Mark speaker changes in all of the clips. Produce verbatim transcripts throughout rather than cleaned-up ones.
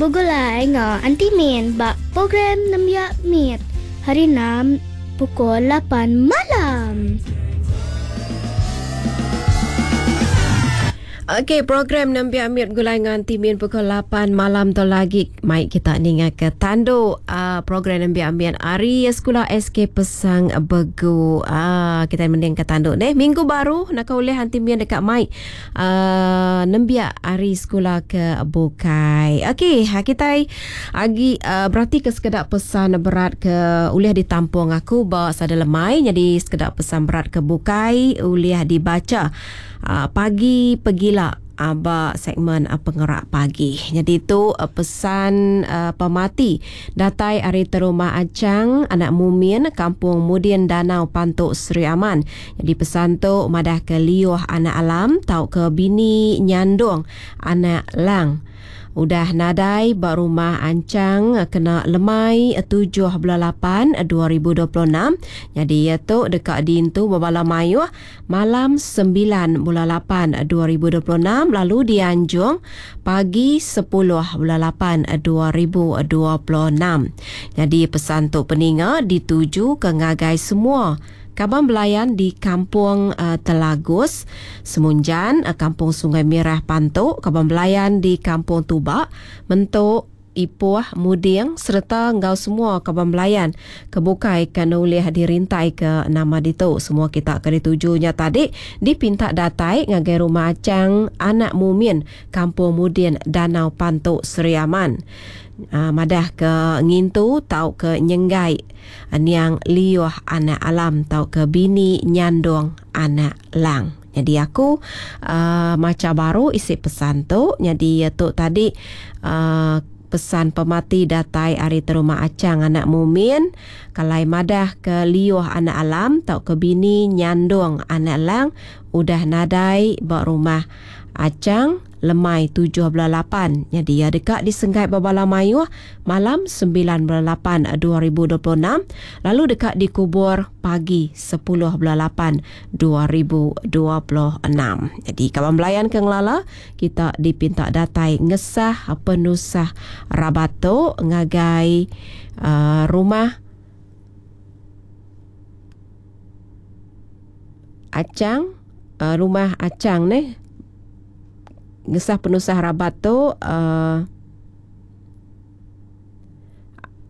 Speaker 1: Begulai enggau Aunty Min ba program Nembiak Mit hari enam pukul lapan malam.
Speaker 2: Okey, program Nembiak Mit Gulai ngan Timin pukul lapan malam tu lagi. Mai kita ninga ke tandu uh, program Nembiak Mit hari sekolah S K Pesang Begu. Uh, kita mending ke tandu ni. Minggu baru nak oleh Aunty Min dekat mai uh, Nembiak hari sekolah ke Bukai. Okey, kita agi uh, berarti ke sekedak pesan berat ke ulih ditampung aku ba sada lemai. Jadi sekedak pesan berat ke Bukai ulih dibaca Uh, pagi pegila aba segmen uh, pengerak pagi. Jadi itu uh, pesan uh, pemati datai ari terumah Acang anak Mumin Kampung Mudin Danau Pantuk Sri Aman. Jadi pesan tu madah ke liuh anak alam tau ke bini nyandung anak lang. Udah nadai ba rumah Ancang kena lemai tujuh bulan lapan dua ribu dua puluh enam. Jadi ia tu dekat dintu berbala mayuh malam sembilan bulan lapan dua ribu dua puluh enam lalu dianjung pagi sepuluh bulan lapan dua ribu dua puluh enam. Jadi pesan tu peninga dituju ke ngagai semua Kaban belayan di Kampung uh, Telagus, Semunjan, uh, Kampung Sungai Merah Pantuk, Kaban belayan di Kampung Tubak, Mentuk, Ipoh, Muding serta ngau semua kaban belayan kebukai kena ulih dirintai ke nama ditu. Semua kita ke ditujunya tadi dipinta datai ngagai rumah Acang Anak Mumin, Kampung Mudin, Danau Pantuk, Sri Aman. Uh, madah ke ngintu tau ke nyenggai uh, niang liuh anak alam tau ke bini nyandung anak lang. Jadi aku uh, maca baru isi pesan tu. Jadi tu tadi uh, pesan pemati datai ari terumah Acang Anak Mumin kalai madah ke liuh anak alam tau ke bini nyandung anak lang udah nadai ba rumah Acang lemai tujuh bulan lapan. Jadi ia dekat disenggai berbala mayuh malam sembilan bulan lapan dua ribu dua puluh enam lalu dekat dikubur pagi sepuluh bulan lapan dua ribu dua puluh enam. Jadi kawan belayan ke ngelala kita dipinta datai ngesah penusah rabat tu ngagai uh, rumah Acang, uh, rumah Acang ni ngesah penusah rabat tu uh,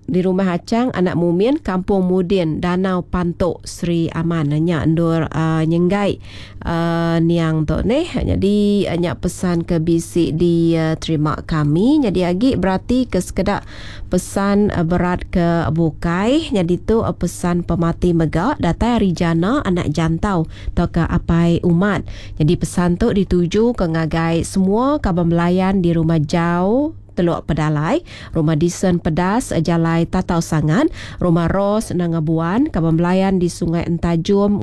Speaker 2: di rumah Acang Anak Mumin Kampung Mudin Danau Pantuk Sri Aman. Nya endur uh, nyenggai uh, niang tu ni. Jadi nya pesan ke bisi diterima kami. Jadi agi berarti ke sekedak pesan uh, berat ke bukai. Jadi tu uh, pesan pemati mega datai ari jana anak jantau atau ke apai umat. Jadi pesan tu dituju ke ngagai semua kaban belayan di rumah jauh Teluk Pedalai, Rumah Disen Pedas, Jalai Tatau Sangan, Rumah Ros Nangabuan, Kaban Belayan di Sungai Entajum